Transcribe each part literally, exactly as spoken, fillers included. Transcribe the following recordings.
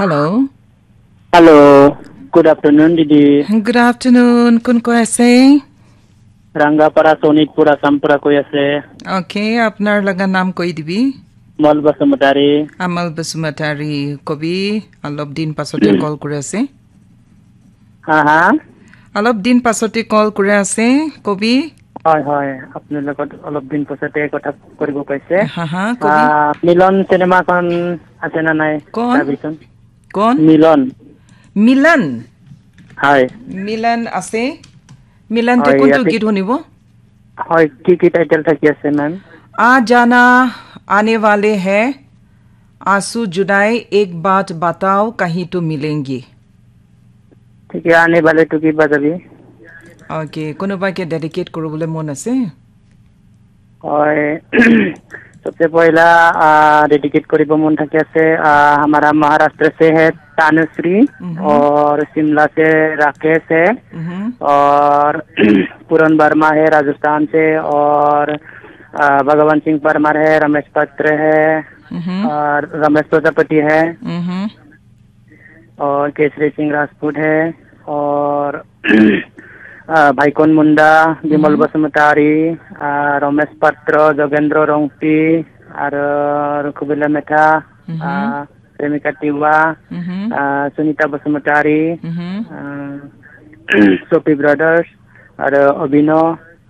Hello. Hello. Good afternoon, Didi. Good afternoon. Kun koi ase? Rangapara, Sonitpur, Assam pura koi ase. Okay, apnar laga naam koi dibi? Amal Basumatari. Amal Basumatari, kobi, alop din pasote call kuri ase. Ha, ha. Alop din pasote call kuri ase, kobi. Hoi, hoi. Apnar logot alop din pasote kotha koribo paise. Ha, ha, kobi. Ah, Milan cinema kon ase na nai? Kon? Sabison. Kon? Milan. Milan? Hoi. Milan ase. Milan te hoi, kuntu yate git hunibo? Hoi, ki ki title thaki ase, ma'am? Aa jana aane wale hai, Aansu Judai, Ek Baat Batao, Kahin To Milenge. Thik hai, aane wale to ki baat abhi? Okay, kunuba ke dedicate kuribole mon ase? Hoi, sabse pehla, ah, dedicate koribo mon thaki ase, ah, hamara Maharashtra se hai Tanushree, mhm, aur Shimla se Rakesh hai, mhm, aur Puran Verma hai Rajasthan se, aur, ah, Bhagavan Singh Parmar hai, Ramesh Patra hai, mhm, aur Ramesh Prajapati hai. Mhm. और केसरी सिंह राजपूत है, और अ, भाइकोन मुंडा, विमल, हम्म। बसुमतारी, अ, रमेश पात्र, जोगेंद्र रोंगटी, और रघुबीला मेथा, हम्म। अ, प्रेमिका टिवा, हम्म। अ, सुनीता बसुमतारी, हम्म। अ, सोपी ब्रदर्स, और अभिनव,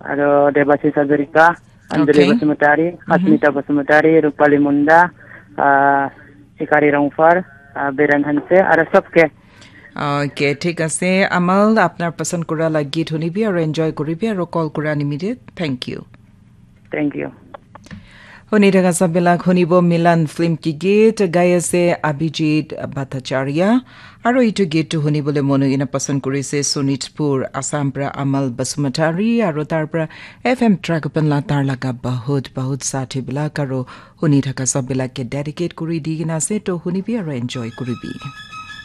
और देवाशीष हजारिका, अंजलि, okay, बसुमतारी, हम्म। अस्मिता बसुमतारी, रूपाली मुंडा, अ, शिकारी रोंगफर, अ, बीरेन हंसे, और सबके। Okay, ठीक ase। Amal, apnar pasand kura la git hunibi aru enjoy kuribi aru call kura nimite thank you. Thank you. Huni thaka sabilak hunibo Milan film ki git gai ase Abhijit Bhattacharya. Aru itu git tu hunibole monu ina pasand kurise Sonitpur, Assam pra Amal Basumatari aru tar pra F M Tragopan la tar laga bahut, bahut sathi bilak aru huni thaka sabilak ke dedicate kuri di kena ase to hunibi aru enjoy kuribi.